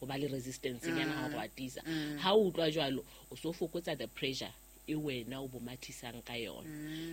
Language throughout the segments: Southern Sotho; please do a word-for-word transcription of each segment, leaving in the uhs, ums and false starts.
Ho ba le resistance nyana ha o a tiisa. Ha o utlwa jwalo, o so fokotsa the pressure e wena o bo mathisang ka yona.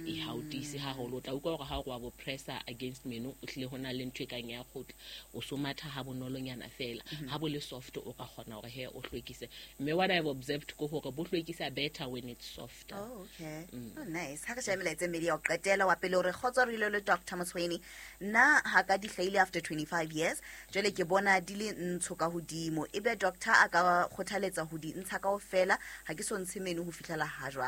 E ha o tiise haholo, o tla utlwa hore ha o wa bo pressure against meno, o hlile ho na le ntho e kang ya kgutla. O so matha ha bonolonyana fela. Ha bo le soft, o ka kgona hore he o hlwekise. Mme what I've observed ke hore bo hlwekisa better when it's softer. Oh, okay. Oh, nice. Ha re shebe melaetsa e mmedi ya ho qetela. Wa pele o re, "Kgotso re ile le Doctor Motshweni. Nna ha ka di hlahile after twenty-five years. Jwale ke bona di le ntsho ka hodimo. Ebe doctor a ka kgothaletsa ho di ntsha kaofela? Ha ke so ntshe meno ho fihlela ha jwale."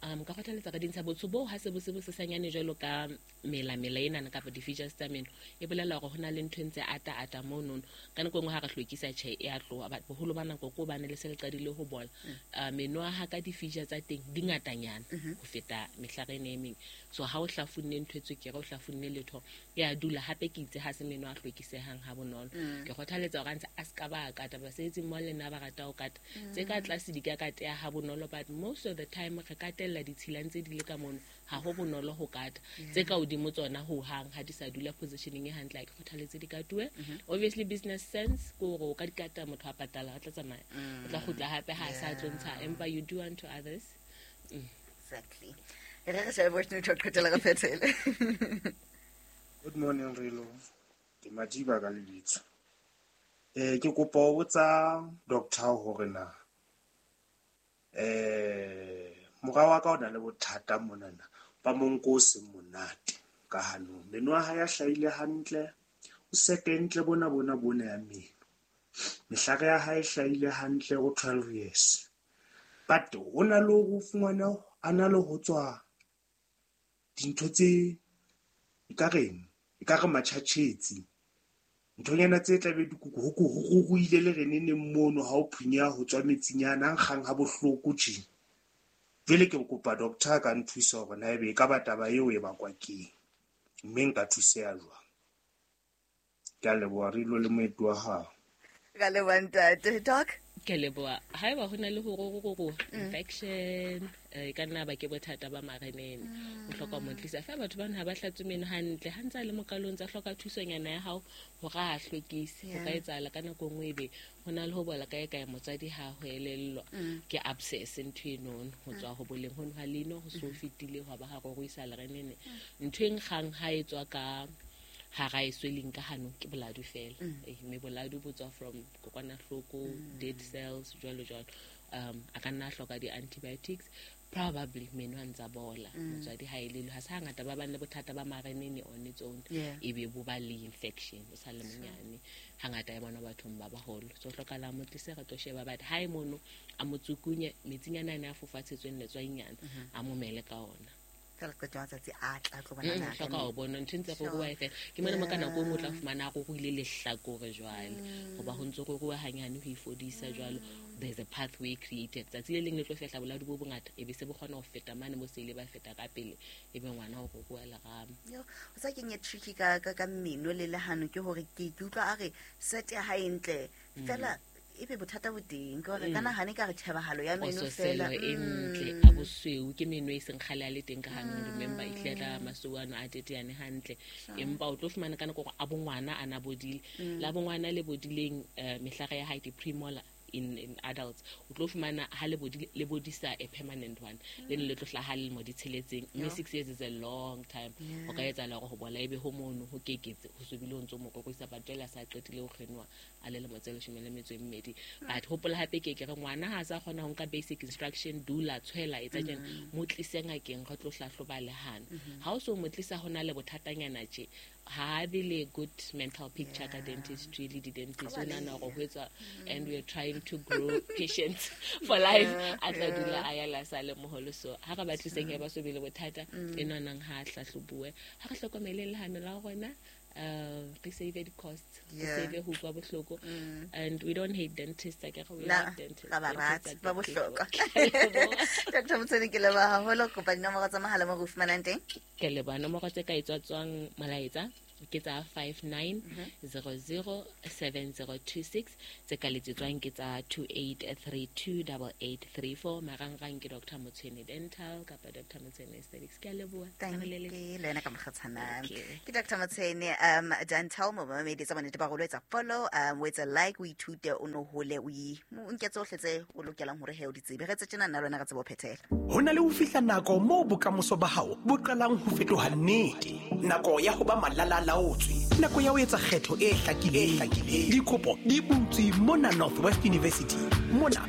um ka kgothaletsa ka dintsha. Botsho boo ha se bo se bo sesanyane jwalo ka mela-mela enana kapa di-features tsa meno, e bolela hore ho na le ntho e ntse ata-ata monono. Ka nako e nngwe ha re hlwekisa, tjhe, e a tloha, but boholo ba nako ko hobane le se le qadile ho bola. uh, meno a ha ka di-feature tsa teng di ngatanyana ho feta mehlare ene e meng. So ha o hlafunne ntho e tswekere, o hlafunne letho, e a dula. Hape ke itse ha se meno a hlwekisehang ha bonolo. Ke kgothaletsa hore a ntse a se ka ba a kata. Basebetsi mmoho le nna ba rata ho kata tse ka tlase, di ka kateha ha bonolo, but most of the time re katella ditshila ntse di le ka mono, ha ho bonolo ho kata tse ka hodimo. Tsona ho hang ha di sa dula positioning e hantle, ha ke kgothaletse di katuwe. Obviously business sense ke hore o ka di kata, motho a patala, a tla tsamaya, o tla kgutla hape ha a sa tlo ntsha, empa you do unto others. Exactly. E re re shebe voice note ho qetela, re phethele. Good morning, Rilo. Ke Madiba ka lebitso. Eh ke kopa ho botsa doctor hore na eh mora wa ka o na le bothata monana ba monko o seng monate ka hanong. Meno a hae a hlahile hantle, o sekentle bona bona bona ya meno. Mehlare ya hae e hlahile hantle, o twelve years. But ho na le hore o fumane a na le ho tswa dintho tse ekareng ekare matjhatjhetsi, nthonyana tse tlabe di ho ruruhile le reneneng mono. Ha o phunyeha, ho tswa metsinyana a nkgang ha bohloko tje. Jwale ke kopa doctor a ka nthusa hore na ebe ekaba taba eo e bakwa keng, mme nka thuseha jwang. Ke a leboha, Rilo le moeti wa hao. Ka leboha, ntate. Doc? Ke leboha. Haeba ho na le ho ruruha, infection, eh, e ka nna ba ke bothata ba marenene, o hloka ho mo tlisa fa. Batho bana ha ba hlatswe meno hantle, ha ntse a le mokalong, tsa hloka thusonyana ya hao hore a hlwekise. Ho ka etsahala ka nako e nngwe ebe ho na le ho bola kae kae, motswadi ha ho elellwa, ke abscess ntho enono, ho tswa ho boleng hono ha leino ho so fetile, hwa ba ha ruruisa lerenene. Ntho e nkgang ha e tswa ka hara e sweleng ka hanong ke boladu fela. Eh, mme boladu bo tswa from kokwanahloko, dead cells, jwalo jwalo. um a ka nna a hloka di-antibiotics probably. Meno a ntsa bola, motswadi ha elelwe. Ha se hangata ba bang le bothata ba marenene on its own Yeah. e be bo ba le infection o sa le monyane. Hangata e bona bathong ba baholo. So hlokahala mo tlise, re tlo sheba. But ha e mono, a mo tsukunye metsinyana ane a fofatshetsweng letswainyana, a momele ka ona. Fela qeto ya matsatsi a tla tlo bona Mm, ngaka. Hloka ho bona ntho e ntse ruruwa e fela. Ke mona mo ka nako e nngwe o tla fumana a ruruile lehlakore jwale, hoba ho ntse ruruwa hanyane ho ifodisa jwalo. There's a pathway created. Tsatsi le leng le tlo fehla boladu bo bongata, e be se bo kgona ho feta mane mo se ile ba feta ka pele, e be ngwana o ruruwa lerama. Yo, o sa keng e tricky ka ka ka mmino le lehano ke hore ke ke utlwa a re set ya hae ntle fela, ebe bothata bo teng ke hore ka nahane ka re tjhebahalo ya meno pososelo fela. E ntle, a bosweu, ke meno e seng kgale a le teng ka hanong. Remember, e tlile tla masweu ano a teteane hantle, empa o tlo fumana ka nako gore a bongwana a na bodile la bongwana le bodileng, um mehlare ya hae, di-premolar in, in adults, o tlo fumana ha le bodile, le bodisa a permanent one, le ne le tlo hlaha lemo di tsheletseng. Mme six years is a long time. Ho ka etsahala hore ho bola ebe ho mono ho keketse, ho sobile ho ntso mo roruisa, but jwale a sa qetile ho kgenoa a le lemo tse leshome le metso e mmedi. But hopola hape, ke ke re ngwana ha a sa kgona ho nka basic instruction, dula, tshwela, etsa tjena, mo tlise ngakeng, re tlo hlahloba lehano. Ha o so mo tlisa, ho na le bothatanyana tje, ha a be le good mental picture ka dentistry le di-dentist. O nahana hore ho etswa, and we are trying to grow patients for life. A tla dula a ya la sa le moholo. So ha re ba tliseng he ba so be le bothata e nonang, ha a hlahlobuwe. Ha re hlokomeleng lehano la rona, uh, re save di-costs, re Yeah. save ho utlwa bohloko. And we don't hate dentists, akere? We Na, love dentists. ra ba Dentists rata, are ba good people. bohlokwa. Ke a leboha. Doctor Motshweni, ke leboha haholo. Kopa dinomoro tsa mohala mo re o fumanang teng. Ke leboha. Nomoro tse ka etswatswang molaetsa Ke tsa five nine zero zero seven zero two six. Tse ka letsetswang ke tsa two eight three two double eight three four. Marangrang ke Doctor Motshwene Dental kapa Doctor Motshwene Aesthetics. Ke a leboha. Thank Re le you. Le wena ka mokgatshana. Thank you. Ke Doctor Motshwene um Dental, mo mamedi tsa bonnete ba hore o etsa follow, um o etsa like, o ithute, o no hole, o i- o nke tsohle tse o lokelang hore he o di tsebe. Re tse tjena nna le wena re tsebe ho phethela. Ho na le ho fihla nako moo bokamoso ba hao bo qalang ho fetoha nnete. Nako ya ho ba malalalaotswe, nako ya ho etsa kgetho e hlakileng. Dikopo di butswe mona Northwest University. Mona